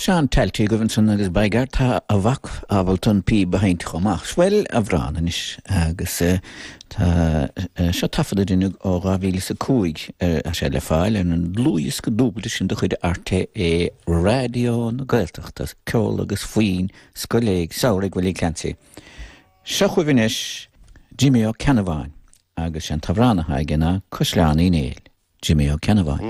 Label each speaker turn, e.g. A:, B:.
A: Seán Talty agaibh ansan agus by gar tá a mhac ábalta an píb a sheinnt chomh maith. Bhuel, amhrán anois agus tá seo taifead a rinneadh ó 2005 tá sé le fáil ar an dlúthdhiosca dúbailte sin de chuid RTÉ Raidió na Gaeltachta, Ceol agus Foinn Scoil Samhraidh Willie Clancy. Seo chugaibh anois Jimí Ó Ceannabháin agus sé an t-amhrán atá aige ná Caisleán Uí Néill. Jimí Ó Ceannabháin.